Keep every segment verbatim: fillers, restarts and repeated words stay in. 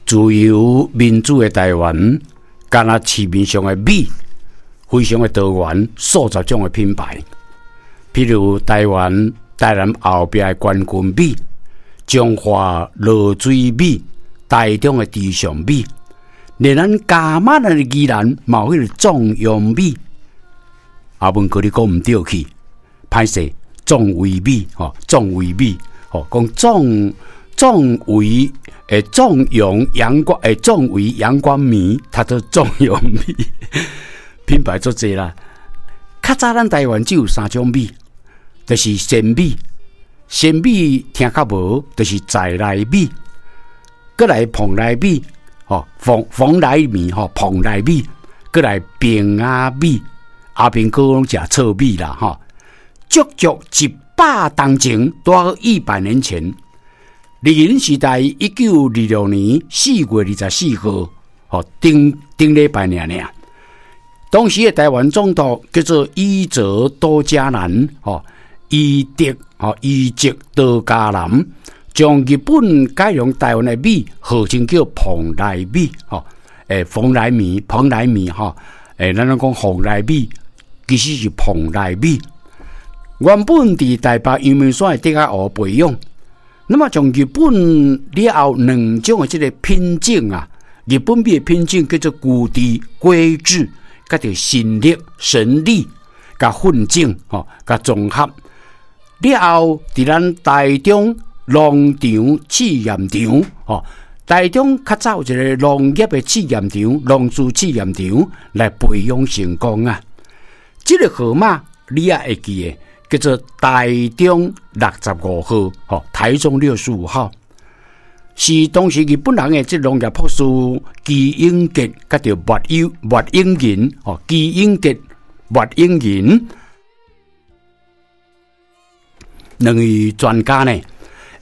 自由民主的台灣，敢若市面上的米，非常的多元，數十種的品牌。譬如台灣台南後壁的關軍米、彰化濁水米、台中的池上米，連咱嘉馬咱的宜蘭嘛有彼个壯陽米。阿文哥你講毋對去，歹勢，壯維米吼，壯維米吼，講壯壯維誒，壯陽陽光誒，壯維陽光米，讀做壯陽米，品牌足濟啦。較早咱台灣只有三種米，就是鮮米，鮮米聽較無，就是在來米，閣來蓬萊米，吼，蓬蓬萊米吼，蓬萊米，閣來平仔米，阿兵哥攏食糙米啦，吼，足足一百冬前，拄好一百年前。日治時代一九二六年四月二十四號，吼，頂頂禮拜爾爾。當時的台灣總督叫做伊澤多嘉南，吼，伊德吼伊澤多嘉南，將日本改良台灣的米號稱叫蓬萊米，吼，欸，蓬萊米，蓬萊米，吼，欸，咱攏講蓬萊米，其實是蓬萊米。原本佇台北陽明山的竹仔湖培養。那麼從日本了後兩種的這個品種啊，日本米的品種叫做古地龜治，佮著神力神力，共混種吼，共綜合了後，佇咱台中農場試驗場吼，台中較早有一個農業的試驗場，農事試驗場來培養成功啊。這個號碼你也會記得，叫做台中六十五號，吼，台中六十五號，是當時日本人的這農業博士祁永傑，佮著麥友麥永仁，吼，祁永傑、麥永仁兩位專家呢，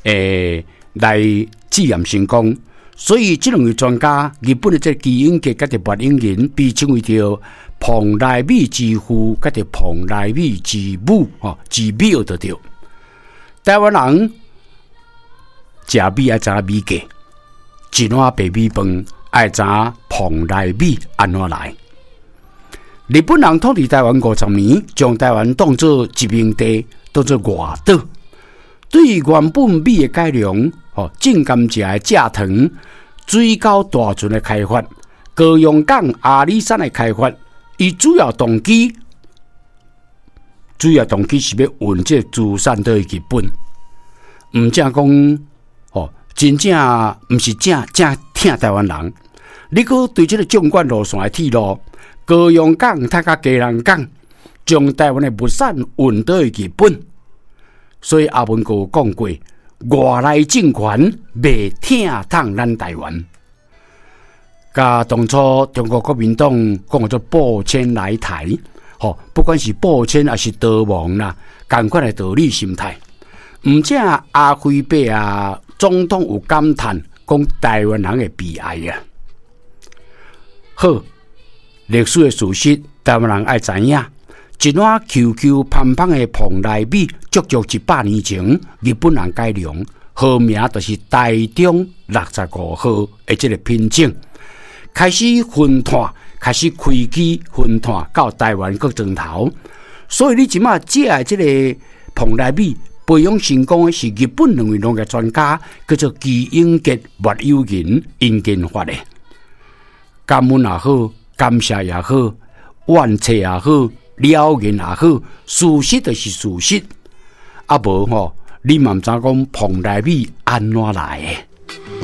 欸，來試驗成功，所以這兩位專家，日本的這祁永傑佮著麥永仁，被稱為著蓬萊米之父，佮著蓬萊米之母，吼，之母就對。台灣人食米愛知影米價，一碗白米飯愛知影蓬萊米按怎來。日本人統治台灣五十年，將台灣當做殖民地，當做外島。對原本米的改良，吼，種甘蔗的蔗糖，水溝大船的開發，高雄港阿里山的開發。伊主要動機，主要動機是欲運這個資產倒去日本，毋正講，吼，真正毋是正正疼台灣人。你閣對這個縱貫路線的鐵路，高雄港佮佮基隆港，將台灣的物產運倒去日本。所以阿文哥有講過，外來政權袂疼痛咱台灣。佮當初中國國民黨講做播遷來台，吼，不管是播遷抑是逃亡啦，仝款的道理心態。毋正阿輝伯啊，總統有感嘆講台灣人的悲哀啊。好，歷史的事實，台灣人愛知影。一碗 Q Q 芳芳的蓬萊米，足足一百年前日本人改良，號名就是台中六十五號的這個品種。開始分攤，開始開機分攤到台灣各庄頭，所以你這馬食的這個蓬萊米培養成功的是日本兩位農業專家，叫做祁永傑、麥友仁𪜶研發的。感恩也好，感謝也好，怨嗟也好，了然也好，事實就是事實。啊無吼，你嘛毋知講蓬萊米按怎來的。